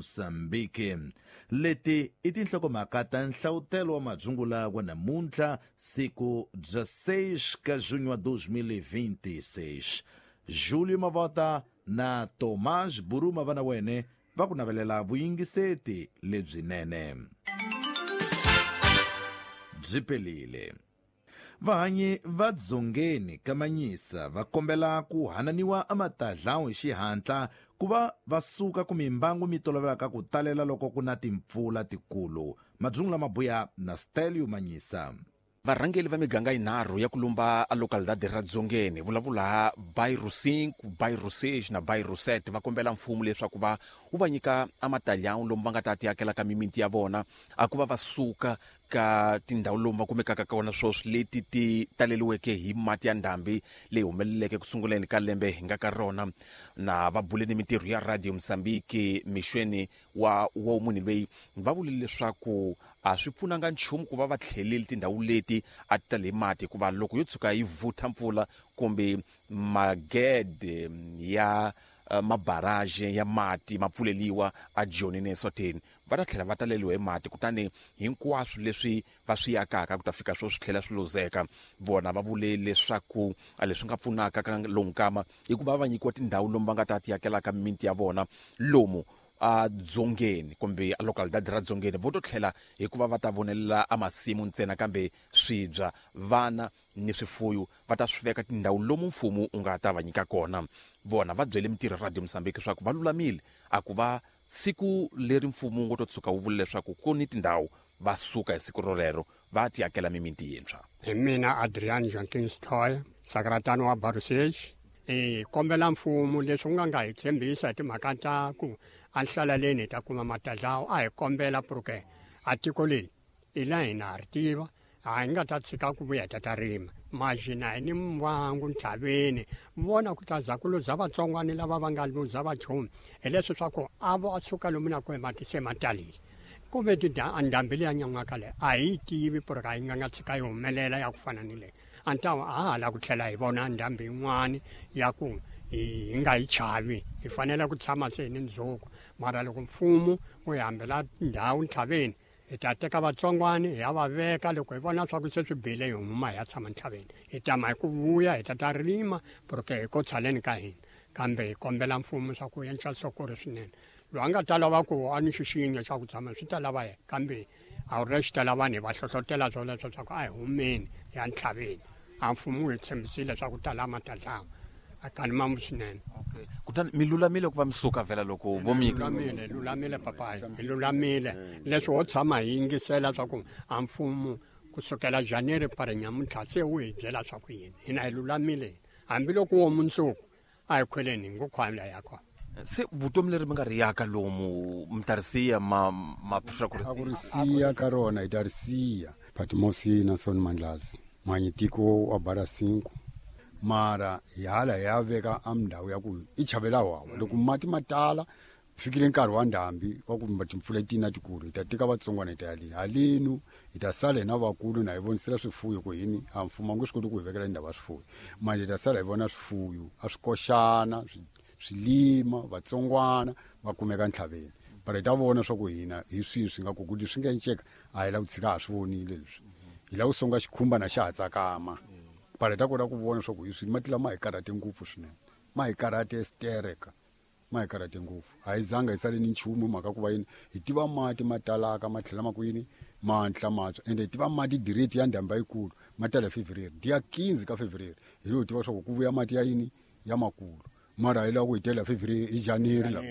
Mozambique. Leti i tinhlokomhaka ta nhlavutelo wa madzungula wa namuntlha, siku 16 ka junho wa 2026. Julio Mavota na Tomás Buruma va na wene va ku navelela vuyingiseti lebyinene. Byi pelile. Vahanyi va Dzongeni ka Manyisa va kombela ku hananiwa ematadlawu hi xihatla ku va va suka ku mimbangu mi tolovelaka ku talela loko ku na timpfula tikulu. Madzungu lama buya na Stelio Manyisa. Varhangeli va miganga yinharhu ya ku lumba a localidade ra Dzongeni vulavula Bairro 5, Bairro 6 na Bairro 7 va kombela mfumo leswaku va wu va nyika amatalhão lomu va nga ta tiakela ka mimiti ya vona a ku va va suka ka tindhawu lomu va kumekaka kona sweswi leti ti taleliweke hi mati ya ndhambi leyi humeleleke ku sunguleni ka lembe hi nga ka rona. Na va bule ni mintirho ya Radio Mozambique mixweni wa wa munhu loyi va vule leswaku a swi pfunanga nchumu ku va va tlheleli tindhawu leti a ti tale hi mati, hikuva loko yo tshuka yi vutha mpfula kumbe magede ya mabarage ya mati ma pfuleliwa a Joni ne Eswatini, va ta tlhela va taleliwa hi mati, kutani hinkwaswo leswi va swi akaka ku ta fika swo swi tlhela swi luzeka. Vona va vule leswaku a leswi nga pfunaka ka lowu nkama i ku va va nyikiwa tindhawu lomu va nga ta tiakelaka mimiti ya vona lomu a Dzongeni kumbe a localidade ra Dzongeni. Vo to tlhela hikuva va ta vonelela a masimu ntsena, kambe swibya, vana ni swifuyo va ta swi veka tindhawu lomu mfumo wu nga ta va nyika kona. Vona va byele mintirho ya Radio Mozambique leswaku va lulamile a ku va siku leri mfumo wu ngo to tshuka wu vula leswaku ku ni tindhawu, va suka hi siku rolero va tiakela mimiti yintshwa. Hi mina Adrian Jenkins Toy, sakratano wa Barusage. Hi kombela mfumo leswi wu nga nga hi tshembisa hi timhaka ta ku enhlaleleni hi ta kuma matadlawu, a hi kombela porque a tiko leri i la hina ha ri tiva, a hi nga ta tshika ku vuya hi ta ta rima maxina hi ni mbangu ntlhaveni vona ku ta za ku luza vatsongwani lava va nga luza vachumu hi leswi swa ku a va suka lomu na kwihi mati se ma talile ku ve ndhambi leya nyan'waka leyi a hi yi tivi porque a yi nga nga tshika yi humelela ya ku fana ni leyi. A ni ta a ha la ku tlhela hi vona ndhambi yin'wani ya ku hi nga yi chavi, hi fanele ku tshama se hi ni ndzhuku. Mara loko mfumo wu hi hambela ndhawu ntlhaveni, hi ta teka vatsongwani hi ya va veka. Loko hi vona swa ku se swi bile, hi huma hi ya tshama ntlhaveni, hi tama hi ku vuya hi ta ta rima porque hi ko tshaleni ka hina. Kambe hi kombela mfumo swa ku endla sokori swinene. Loyi a nga ta lava ku a ni xixinyo xa ku tshama swi ta lava yena, kambe a wu ri xi ta lava vanhu hi va hlohlotela swoleswo swa ku a hi humeni hi ya ntlhaveni. A mfumo wu hi tshembisile swa ku tala matadlawa a kani mamu swinene. Okay. Kutani mi lulamile ku va mi suka vhela loko vo mi lulamile, lulamile papayi, hi lulamile. Leswi ho tshama hi yingisela swa ku a mfumo kusukela January pare nyamuntlha se wu hi byela swa ku yini, hina hi lulamile hambiloko wo mundzuku a hi khweleni hi ngo khwamla ya kona. Se vutomi leri mi nga ri yaka lomu mi ta ri siya ma ma swa ku ri a ku ri siya ka rona hi ta ri siya. Patmosi na Son Mandlazi mwanyi tiko wa bara 5 mara hi hala hi ya veka a ndhawu ya ku i chavela wawa loko mati ma tala fikile nkarhi wa ndhambi wa ku timpfula tina tikulu hi ta teka vatsongwana hi ta ya le halenu hi ta sala hina vakulu na hi vonisela swifuyo ku hini a mfumo a nge swi koti ku hi vekela ndhawu ya swifuyo manje hi ta sala hi vona swifuyo a swi koxana swilima vatsongwana va kumeka ntlhaveni but hi ta vona swa ku hina hi swihi swi nga ku ku leswi nga enceka a hi la ku tshika ha swi vonile leswi hi la ku songa xikhumba na xa ha tsakama but hi ta kota ku vona swa ku hi swi mati lama hi karhate ngopfu swinene ma hi karhate stereka ma hi karhate ngopfu a hi zanga hi sale ni nchumu mhaka ku va yini hi tiva mati ma talaka ma tlhela ma ku yini ma ntla matshwa ende hi tiva mati direct ya ndhamba yikulu ma tala hi February dia 15 ka February hi lo tiva swa ku ku vuya mati ya yini ya makulu mara hi lava ku hi tela February hi January la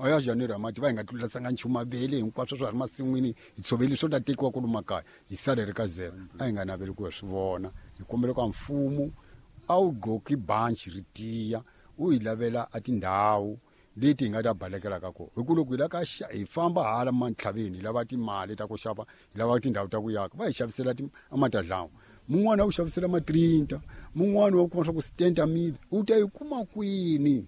a ya January mati va hi nga tlulasanga nchumu mavele hinkwaswo swa ha ri masin'wini hi tshoveli swo ta tekiwa kwalomu makaya hi sale ri ka zero a hi nga naveli ku hi swi vona hi kombela ka mfumo a wu gqoki banci ri tiya u hi lavela a tindhawu leti hi nga ta balekela ka kona hi ku loko hi la ka hi famba hala mantlhaveni hi lava timali ta ku xava hi lava tindhawu ta ku yaka va hi xavisela amatadlawa mun'wana wa ku xavisela ma-30 mun'wana wa kuma swa ku 70 mil u ta yi kuma kwini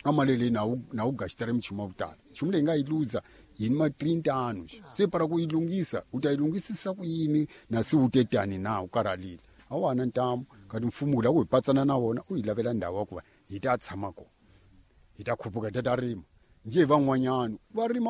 a mali leyi na wu gaxitela minchumu ya ku tala nchumu leyi nga yi luza yini ma-30 anu se para ku yi lunghisa u ta yi lunghisisa ku yini na se u te tani na u karhalile a wa ha na ntamu kati mfumo wu lava ku hi patsana na wona u hi lavela ndhawu ya ku va hi ta tshama kona hi ta khuphuka hi ta ta rima njhe hi van'wanyana va rima.